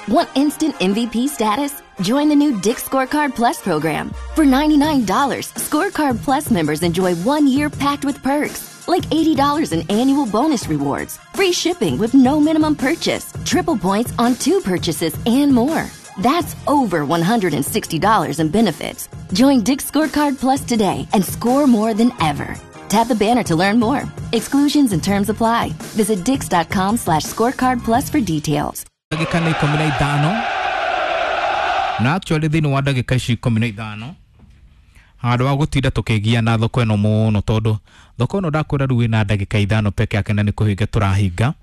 Want instant MVP status? Join the new Dick's Scorecard Plus program. For $99, Scorecard Plus members enjoy 1 year packed with perks, like $80 in annual bonus rewards, free shipping with no minimum purchase, triple points on two purchases, and more. That's over $160 in benefits. Join Dick's Scorecard Plus today and score more than ever. Tap the banner to learn more. Exclusions and terms apply. Visit dicks.com/scorecard plus for details. Ndagĩka nĩ 15, na actually thĩinĩ wa ndagĩka ici 15, handũ wa gũtinda tũkĩgia na thoko ĩno mũno, tondũ thoko ĩno ndakwĩra rĩu ĩna ndagĩka 5 peke yake na nĩ kũhinga tũrahinga,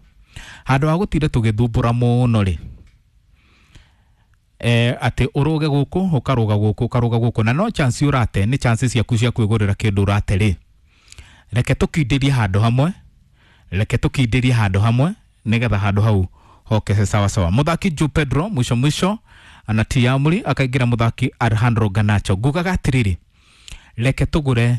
handũ wa gũtinda tũgĩthumbũra mũno rĩ, atĩ ũrũge gũkũ, ũkarũga gũkũ, ũkarũga gũkũ, na no chance ũrate, nĩ chance ciaku cia kwĩgũrĩra kĩndũ ũrate rĩ, reke tũkindĩrie handũ hamwe, reke tũkindĩrie handũ hamwe nĩgetha handũ hau hoke sawa sawa. Mũthaki Joe Pedro mwisho mwisho anatia amri, akaingĩra mũthaki Alejandro Garnacho. Ngugaga atĩrĩrĩ, reke tũgũre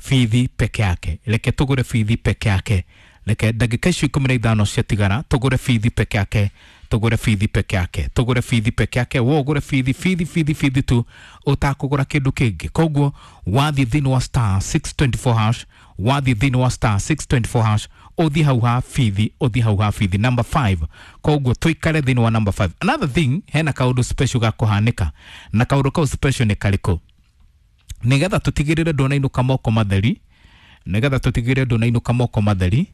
bithi peke yake, reke tũgũre bithi peke yake, reke ndagĩka icio 15 ciatigara tũgũre bithi peke yake, tũgũre bithi peke yake, tũgũre bithi peke yake. Wo ũgũre bithi, bithi, bithi, bithi tu, ũtakũgũra kĩndũ kĩngĩ. Koguo wathiĩ thĩinĩ wa *624#, wathiĩ thĩinĩ wa *624#, ũthiĩ hau ha bithi, ũthiĩ hau ha bithi number 5. Koguo tũikare thĩinĩ wa number 5. Another thing, hena kaũndũ special gakũhanĩka, na kaũndũ kau special nĩ karĩkũ? Nĩgetha tũtigĩrĩre ndũnainũka moko matheri, nĩgetha tũtigĩrĩre ndũnainũka moko matheri,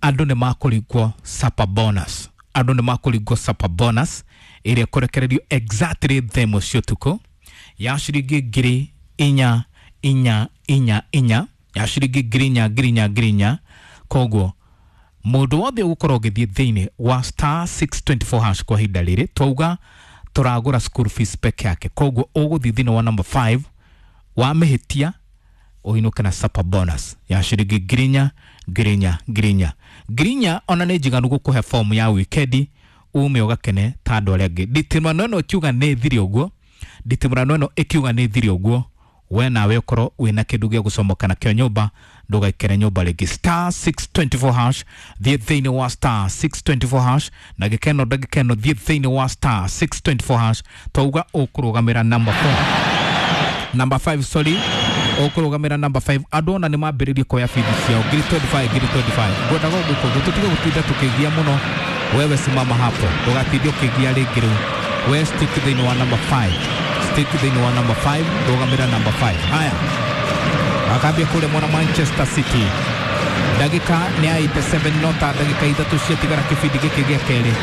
andũ nĩ makũringwo super bonus, andũ nĩ makũringwo super bonus ĩrĩa ĩkũrekererio exactly thaa 1 cia ũtukũ ya ciringi 4,000 4 4 4, ya ciringi 4,000 4,000 4,000. Koguo mũndũ wothe ũgũkorwo ũgĩthiĩ thĩinĩ wa *624# kwa ihinda rĩrĩ, twauga tũragũra school fees peke yake, koguo ũgũthiĩ thĩinĩ wa number 5, wamĩhĩtia ũinũke na super bonus ya ciringi 4,000 4,000 4,000 4,000. Ona nĩ njiganu gũkũhe fomu ya wikendi ume ũgakene ta andũ arĩa angĩ. Nditimũrano ĩno ĩkiuga nĩ thiri ũguo, nditimũrano ĩno ĩkiuga nĩ thiri ũguo, we nawe ũkorwo wĩna kĩndũ gĩa gũcomoka nakĩo nyũmba, ndũgaikare nyũmba rĩngĩ. *624#, thiĩ thĩinĩ wa *624# na gĩkeno, ndagĩka ĩno thiĩ thĩinĩ wa *624#. Twauga ũkũrũgamĩra number 4, number 5, sorry, ũkũrũgamĩra number 5. Andũ ona nĩ mambĩrĩrie kuoya bithi ciao 25,000 25,000. Ngwendaga ũguo, koguo tũtige gũtinda tũkĩgia mũno. Wewe simama hapo, ndũgatinde ũkĩgia rĩngĩ rĩu. We stick thĩinĩ wa number 5, stick thĩinĩ wa number 5, rũgamĩra number 5. Haya, akambia kũrĩa mwena Manchester City, ndagĩka nĩ ya 87, nota ndagĩka 3 ciatigara kĩbindi gĩkĩ gĩa kerĩ.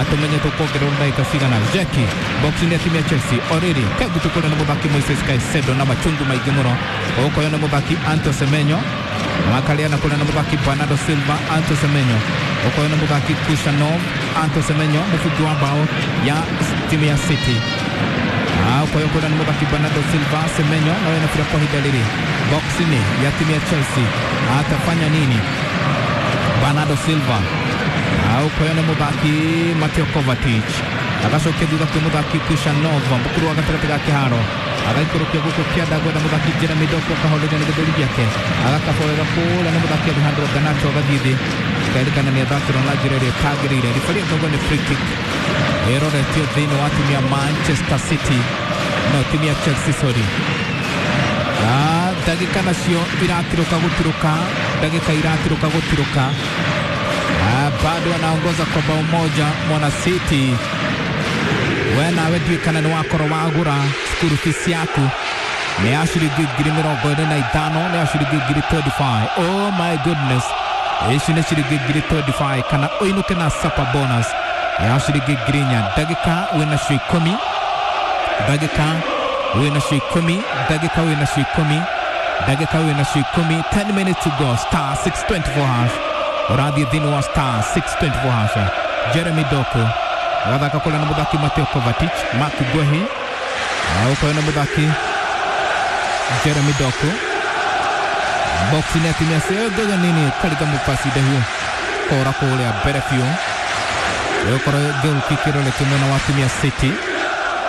Tũmenye tũkuongererwo ndagĩka cigana. Jeki box-inĩ ya timu ya Chelsea orĩrĩ kengutu kũrĩa nĩ mũthaki Moises Caicedo na machungu maingĩ mũno. Gũkũyũ nĩ mũthaki Anto Semenyo, makarĩana kũrĩa nĩ mũthaki Bernardo Silva. Anto Semenyo, gũkũyũ nĩ mũthaki Kushanov. Anto Semenyo, mũbungi wa bao ya timu ya City. Ũkoyo kũrĩa nĩ mũthaki Bernardo Silva. Semenyo nawe na bira kwa ihinda rĩrĩ box-inĩ ya timu ya Chelsea, atafanya nini Bernardo Silva? Ũkoyo nĩ mũthaki Mateo Kovacic, agacokia thutha kwĩ mũthaki Kushanov, mbukuru wa gatagatĩ ga kĩharo, agaikũrũkia gũkũ kĩanda gwetha mũthaki Jeremy Doku, akahoreria na gĩthũri gĩake, agakaba wega kũrĩa nĩ mũthaki Alejandro Garnacho, agathiĩ thĩ, kerĩkana nĩ athakĩrwo na njĩra ĩrĩa ĩtagĩrĩire. Ribari akauga nĩ free kick ĩroretio thĩinĩ wa timu ya Manchester City, no timu ya Chelsea, sorry. Ndagĩka nacio iratirũka gũtirũka, ndagĩka iratirũka gũtirũka. Bado anaongoza kwa bao moja mwana City. We nawe ndiũĩ kana nĩ wakorwo wagũra school fees yaku, nĩ ya ciringi 25,000, nĩ ya ciringi 25,000. Oh my goodness, ici nĩ ciringi 25,000, kana ũinũke na super bonus ya ciringi 4,000. Ndagĩka wĩnacio 10, ndagĩka wĩnacio 10, ndagĩka wĩnacio 10, ndagĩka wĩnacio 10. 10 minutes to go. *624#, ũrathiĩ thĩinĩ wa *624#. Jeremy Doku agathaka kũrĩa na mũthaki Mateo Kovacic, Mark Guehi, ũkoyo na mũthaki Jeremy Doku box-inĩ ya timu ya ngoja nini kariga mupasi ndahiũ kora kũrĩa mbere biũ, ĩgũkorwo goal kick ĩroretio mwena wa timu ya City.